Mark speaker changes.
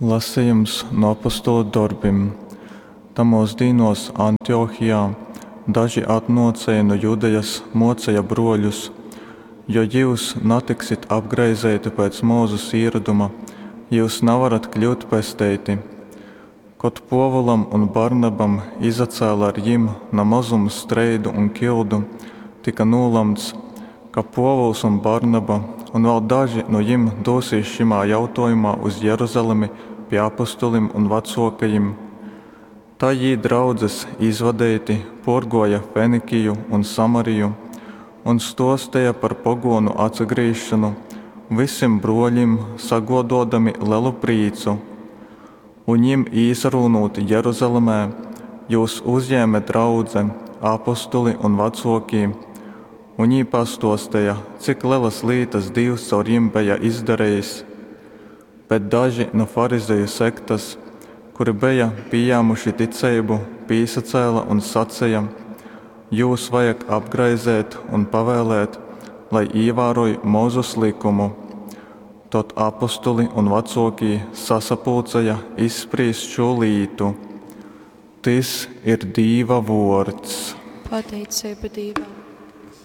Speaker 1: Lasejums nu Apostolu dorbim. Tamōs dīnōs Antiochijā daži atnōcēji nu Judejas mōceja brōļus, Jo jyus natiksit apgraizeiti pēc Mozus īroduma, jyus navarat kļyut pesteiti. Kad Pōvulam un Barnabam izacēle ar jim na mozums streidu un kildu, tyka nūlamts, ka Pōvuls un Barnaba un vēl daži nu jim dūsīs šymā jautōjumā uz Jeruzalemi pi apostolim un vacōkajim. Tai jī draudzes izvadeiti pōrgōja Fenikiju un Samariju un stōsteja par pogōnu atsagrīzšonu vysim brōlim sagōdōdami lelu prīcu. Un jim īsarūnūt Jeruzalemē, jūs uzjēme draudze, apostoli un vacōkī, un jī pastōsteja, cik lelas lītas Dīvs caur jim beja izdarejis. Bet daži nu farizeju sektas, kuri beja pījāmuši ticeibu, pīsacēle un saceja, Jūs vajag apgraizeit un pavēlēt, lai īvāroj Mozus lykumu. Tod apostoli un vacōkī sasapulceja izsprīst šū lītu. Tys ir Dīva vōrds.
Speaker 2: Pateiceiba Dīvam.